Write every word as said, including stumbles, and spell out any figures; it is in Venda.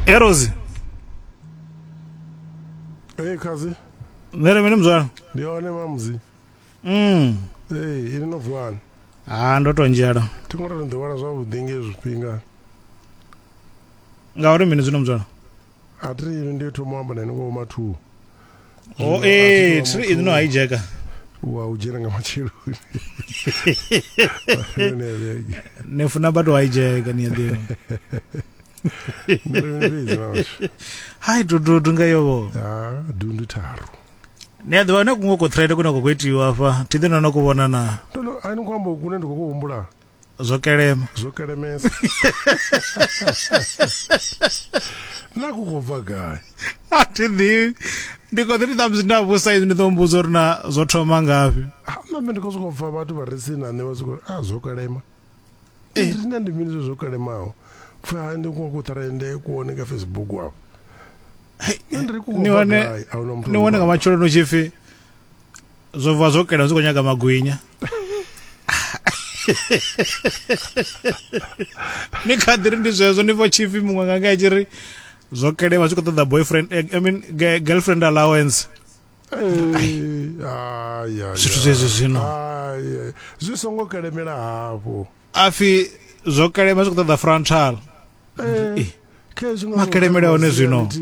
Erosi. Hey kazi. Nere mini mzwana? Ndi hone mamuzi. Mm. Hey, ini no vuwani. Ah, ndo to nzhela. Thi ngo ri ḓiwana zwavhuḓi nge zwifhinga. Ngauri mini zwino mzwana? A thi ri ndi thoma amba na ngo ma two. Oh, eh, thi ri no hijacka. Wa u dzhena nga matsheloni. Ne funa vhathu hijacka ni a ḓivha. Hai dudu nga yovo. Ah, dundu tharu. Ni a ḓivha na kuṅwe ku thread kune kwa khou itiwa afha thi ḓi no no ku vhona na. Ndo a ni khou amba kune ndi khou humbula. Zwo kelema. Zwo kelemesa. Na ku khou bva gai? A thi ḓivhi. Ndi khou ḓi ri ṱhamusi nda vhusa izwi ndi ḓo mbudza uri na zwo thoma ngafhi. Na nṋe ndi khou sokou pfa vhathu vha re tsini na nṋe vha sokou a zwo kelema. Eh, nṋe ndi mini zwo kelemaho? Pfa ndi ku ku trende ku wone ka Facebook afho. Ni wane ni wane nga matsheloni u tshi pfi zwo bva zwo kelema zwi khou nyaga magwinya. Ni kha ḓi ri ndi zwezwo ni pfa tshipfi muṅwe nga nga tshi ri zwo kelema zwi khou ṱoḓa boyfriend, I mean girlfriend allowance. Ai ai. Zwithu zwezwo zwino. Ai zwi songo kelemela hafho. Afi zwo kelema zwi khou ṱoḓa frontal. Eh, makelemela hone zwino.